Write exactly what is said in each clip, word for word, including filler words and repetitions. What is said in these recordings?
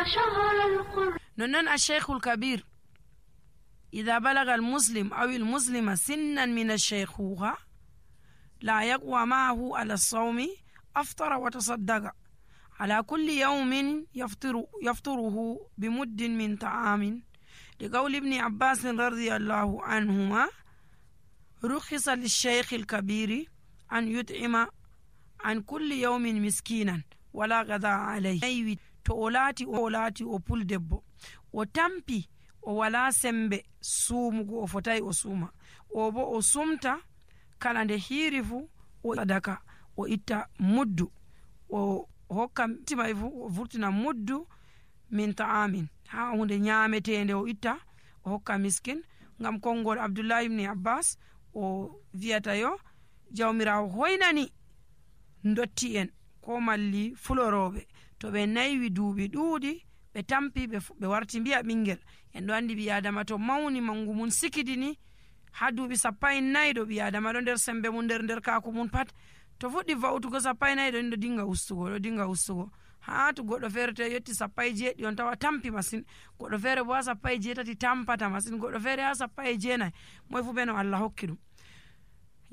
شهر القرآن. نونن الشيخ الكبير إذا بلغ المسلم أو المسلمة سنا من الشيخوخة لا يقوى معه على الصوم أفطر وتصدق على كل يوم يفطر يفطره بمد من طعام، لقول ابن عباس رضي الله عنهما: رخص للشيخ الكبير أن يطعم عن كل يوم مسكينا ولا غذاء عليه. to o laati o laati o puldebbo o tampi o wala sembe suumugo o fotai o suuma, o bo o sumta kala nde hiiri fu o sadaka o itta muddu o hokka timay fu o vurtina muddu min ta'amin ha hunde nyametende o itta o hokka miskin. ngam kongol Abdullah ibn Abbas o viyata yo jawmirawo hoynani ndotti en ko malli fuloroɓe to ɓe naywi duuɓi ɗuuɗi ɓe tampi ɓe warti mbiya ɓingel. en ɗo andi ɓi adama to mawni mangu mum sikidini ha duuɓi sappa e nayyi ɗo ɓi adama ɗo nder sembe mum nder nder kaku mum pat to fuɗɗi va'utugo sappa e nayyi ɗo ɗo dinga ustugo ɗo dinga ustugo ha to goɗɗo feere to yetti sappa e jeeɗi on tawa tampi masin, goɗɗo feere bo ha sappa e jeetati tampata masin, goɗɗo feere ha sappa e jeenayi. moy fu ɓe no Allah hokki ɗum.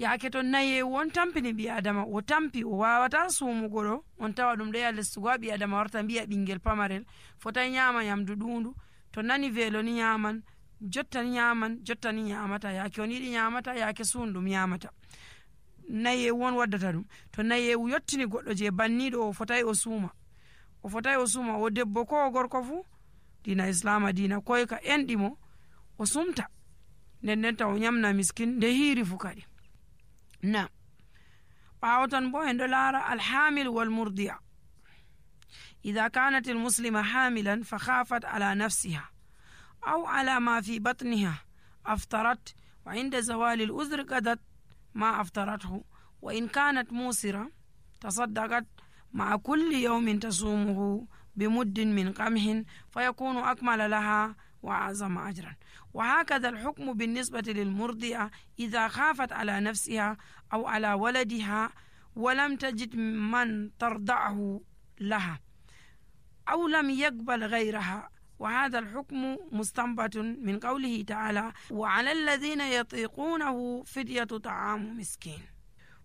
yaake to nayewu on tampini ɓi adama o tampi o wawata suumugo ɗo on tawa ɗum ɗo ya lestugo ha ɓi adama warta mbiya ɓingel pamarel fotai nyama nyamdu ɗundu, to nani velo ni nyaman, jotta ni nyaman, jotta ni nyamata, yaake on yiɗi nyamata, yaake suun ɗum nyamata. nayewu on waddata ɗum. to nayewu yottini goɗɗo je banniɗo o fotai o suuma o fotai o suuma o debbo ko o gorko fu dina islama dina koyka enɗimo o sumta nden nden ta o nyamna miskin nde hiiri fu kadi. na ɓawo tan bo en ɗo laara alhamil walmurdi'a إذا كانت المسلمة حاملا فخافت على نفسها أو على ما في بطنها أفطرت، وعند زوال الأذر قضت ما أفطرته، وإن كانت موسرة تصدقت مع كل يوم تصومه بمد من قمح فيكون أكمل لها وأعظم أجرا. وهكذا الحكم بالنسبة للمرضعة إذا خافت على نفسها أو على ولدها ولم تجد من ترضعه لها أو لم يقبل غيرها، وهذا الحكم مستنبط من قوله تعالى: وعلى الذين يطيقونه فدية طعام مسكين.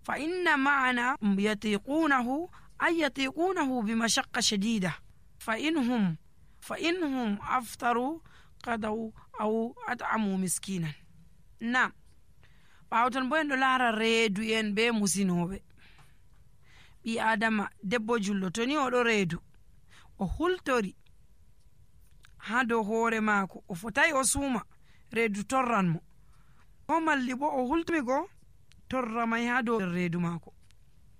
فإن معنى يطيقونه أي يطيقونه بمشقة شديدة، فإنهم فإنهم أفطروا قضوا أو أطعموا مسكينا. نعم ɓawtan bo en ɗo laara reedu en be musinoɓe. ɓi adama debbo jullo to ni oɗo reedu o hultori ha dow hoore maako o fotai o suuma reedu torran mo, ko malli bo o hultimigo torra may ha dow reedu maako.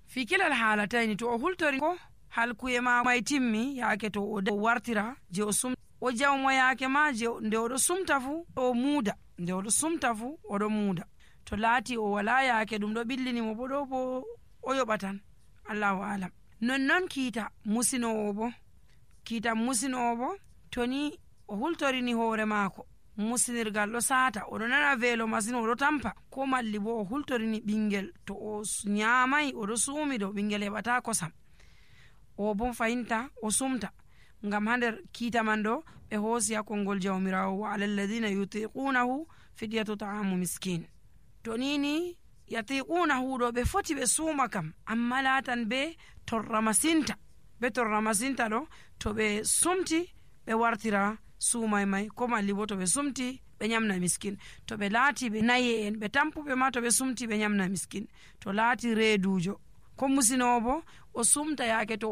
fi kilal haalatayni to o hultori ko halkuye ma may timmi yaake to o wartira je o sum o jawmo yaake ma je nde oɗo sumta fu o muuda, nde oɗo sumta fu oɗo muuda. to laati o wala yaake ɗum ɗo ɓillinimo bo ɗo bo o yoɓatan, allahu alam. nonnon kiita musinowo bo kiita musinowo bo to ni o hultorini hoore maako musinirgal ɗo saata oɗo nana veelo masin oɗo tampa, ko malli bo o hultorini ɓingel to o nyamai oɗo suumi ɗo ɓingel heɓata kosam, o bon fayinta o sumta. ngam ha nder kiita man ɗo ɓe hoosi ha konngol jawmirawo: wa ala alladhina yutiqunahu fidyatu ta'amu miskin. to nini yatiqunahu ɗo ɓe foti ɓe suuma kam, amma laatan be torra masinta be torra masinta ɗo to ɓe sumti ɓe wartira suumay may, ko malli bo to ɓe sumti ɓe nyamna miskin. to ɓe laati ɓe naye en ɓe tampuɓe ma to ɓe sumti ɓe nyamna miskin. to laati reedujo ko musinowo bo o sumta yaake to